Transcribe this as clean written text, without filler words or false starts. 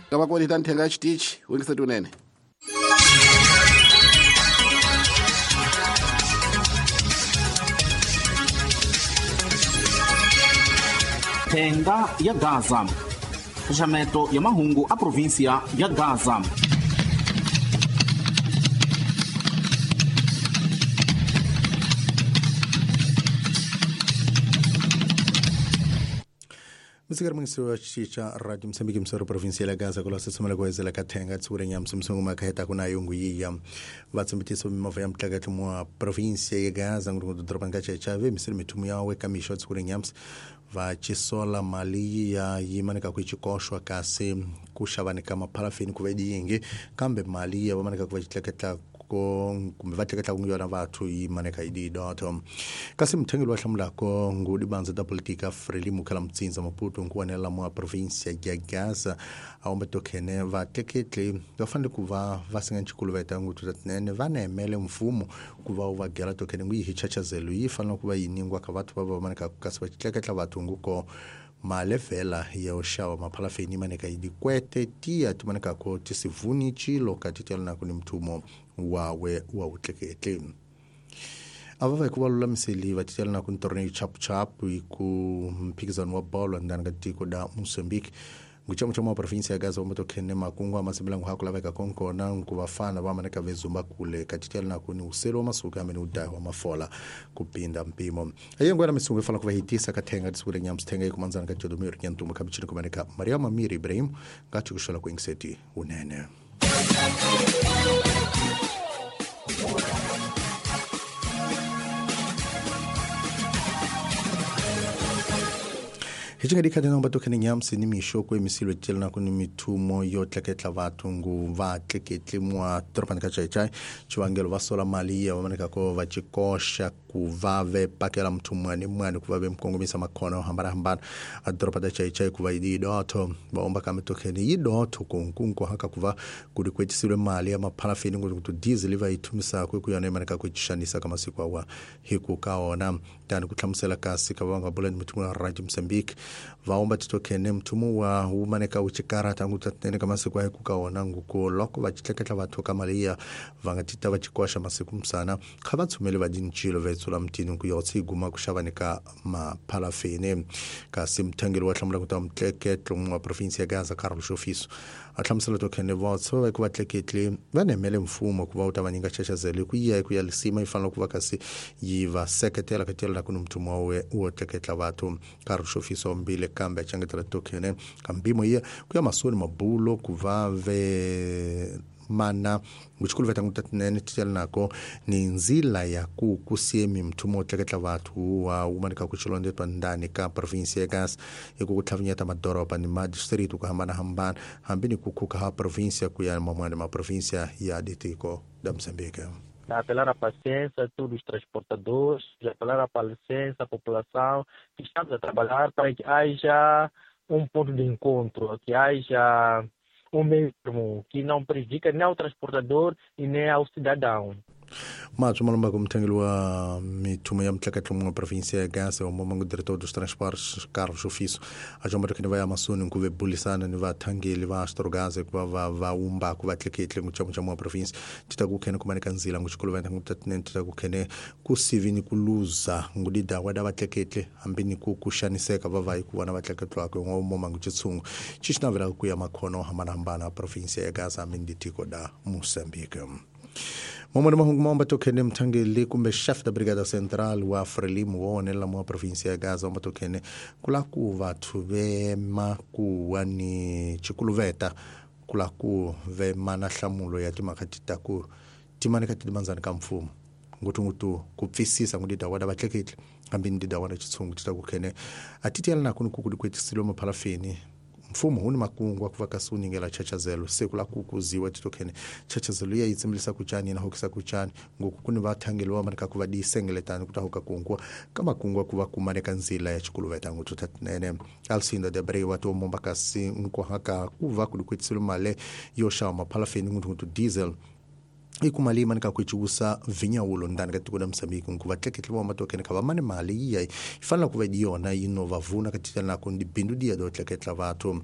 Ka va konita nthenga ya xitichi wingiseti unene. Thenga ya Gaza. Xaxameto ya mahungu a província ya Gaza. Msikari mungisi chicha radio Msambiki msoro provincia ya Gaza kula sesomela kuwezela kathenga tsure nyamsi msungu makheta kuna yungu yiya vatsumbitiso mimovha ya mtlakatlo mwa provincia ya Gaza ngurungu doroba nga chechave misiri mithumu yawe kamisho tsure nyamsi vachisola mali ya yimanika kuichikoshwa kasi kuxavanika mapharafini kuva yingi kambe mali ya vamanika kuva xitleketla kumbe va tleketla ku yona vathu yi maneka yi didoto kasi muthengeli wa hlamulako ngudi bandza ta politika Frelimo khala mutsinza Maputo nkuwanela mwa provincia ya Gaza a wombe tokhene vatleketli va fanele ku va va singa nchikuluveta nguthu tatinene va nemele mfumo ku va wu va gela tokhene ngu yi hi chachazelo yi fanele ku va yi ningwa ka vathu va va maneka kasi va tleketla vathu nguko malevhela ya uxava maphalafeni maneka yi dikwete tiya ti manekako tisivuni chilo kati tiyalanako ni mthumo wawe wa utleketli a va va hi ku va lulamiseli va titelanako ni torneio chapuchapu hi ku mphikizano wa bolo ndani ka tiko da Mozambique nguchamuchamu wa província ya Gaza wamatokhene makungu amasimbilangu haku laveka konkona nkuvafana vamaneka vezumba kule katitelanako ni uselo wa masuku amene udayi wa mafola kupinda mpimo ayengwena misungu ifana kuva hitisa kathenga tisukule nyamsi thenga ikumanzana kajodomiro nyantumba kabichini kumaneka Mariama Miri Ibrahim ngathi kushola kuingiseti unene. Hichinga nomba tokhene nyamsi ni mixo ku emisilo tjelana ku ni mithumo yo tleketla vathu ngu va tleketli mwa toropani ka Chaichai chivangelo va sola mali ya vamaneka ko va chikoxa ku va ve pakela muthu mwani mwani ku va ve mukongomisa makhona yo hambanahambana a doroba ta Chaichai ku va yi didotho va omba kambe tokhene yi dotho kunkunku haka ku va ku dikwetisile mali ya maphalafini nguthu ku diesel va yi thumisaka ku yona imaneka ku xanisa ka masiku awa hi ku ka ona tani ku hlamusela kasi ka va nga bula ni mithumo ya Radio Mozambique vaomba titokhene mthumo wa wumaneka wu chikarata ngutatene ka masiku ayi kuka wona nguko loko va xitleketla vathu ka mali ya va nga tita va chikoxa masiku msana kha va tshumele va dinchilo va etsula mtini ku yotsi guma ku xavani ka maphalafini kasi muthangeli wa hlamula ku ta mutleketlo wa province ya Gaza Carlos Shofiso a hlamusela tokhene votsa va ku va tleketli va nemele mfumo ku va wu ta va nyika xaxazelo ku yiya ku ya lisima yi fanele ku va kasi yi va seketela ka tela ku ni mthumo wa wo tleketla vathu Carlos Shofiso mbile kambe achangetela tokhene kambimo iya ku ya masoni mabulo ku va ve mana nguchikulu veta ngutatinene titelanako ni nzila ya ku kusiemi mthumo tleketla vathu wa wumanika ku xilondetwa ndani ka province ya Gaza hi ku tlhavinyeta madoroba ni madistritu ku hambanahambana hambi ni ku khuka ha província ku ya man'wana ma província ya ditiko da Mozambique. Apelar à paciência a todos os transportadores, apelar à paciência à população, que estamos a trabalhar para que haja um ponto de encontro, que haja um meio termo que não prejudica nem ao transportador e nem ao cidadão. Matsho malomba kumthengeli wa mithumo ya mtleketlo mwa província ya Gaza wa momangu diretor dos transportes Carlos Ofiso a jomba tokhene va ya masoni ku ve bulisana ni vathangeli va Astrogaza ku va va umba ku va tleketli nguchamuchamu wa província tita ku khene kumaneka nzila nguxikuluventa ngutatinene tita ku khene ku sivi ni ku luza ngudidawa da vatleketli hambi ni ku xaniseka va va hi ku vona vatleketlwako wa momangu chitshungu xi xi navelaka ku ya makhono hambanahambana a província ya Gaza hambi ni ditiko da Mozambique. Momone mahungu maomba tokhene mthangeli kumbe chef da brigada central wa Frelimo wa onela mwa província ya Gaza omba tokhene kula ku vathu vema ku wa ni chikuluveta kula ku vema na hlamulo ya timhaka ti ta ku timanika ti manzani ka mfumo ngutungutu ku pfisisa ngudida wada vatleketli hambi ni dida wada chitshungu ti ta ku khene a ti tiyela nako ni ku ku dikwetisile maphalafini mfumo hu ni makungu wa ku va kasi wu nyingela chachazelo se ku la ku kuziwa titokhene chachazelo ya yi tsimbilisa ku cani na hokisa ku cani ngoku ku ni vathangeli va maneka ku va disengeletani ku ta hoka kunguwa ka makungu ku va kumaneka nzila ya xikuluveta nguthu tatinene Alcinda de Abreu wa tiomomba kasi nkuhaka ku va ku dikwetisile mali yo xava maphalafeni nguthu diesel i ku mali manika ku ciwusa vinyawulo ndani ka tiko la Mozambique nku vatleketli va matokene kha va mani mali yiya yi fanele ku va yona yi no va vuna ka titela nako ni bindu diya do tleketla vathu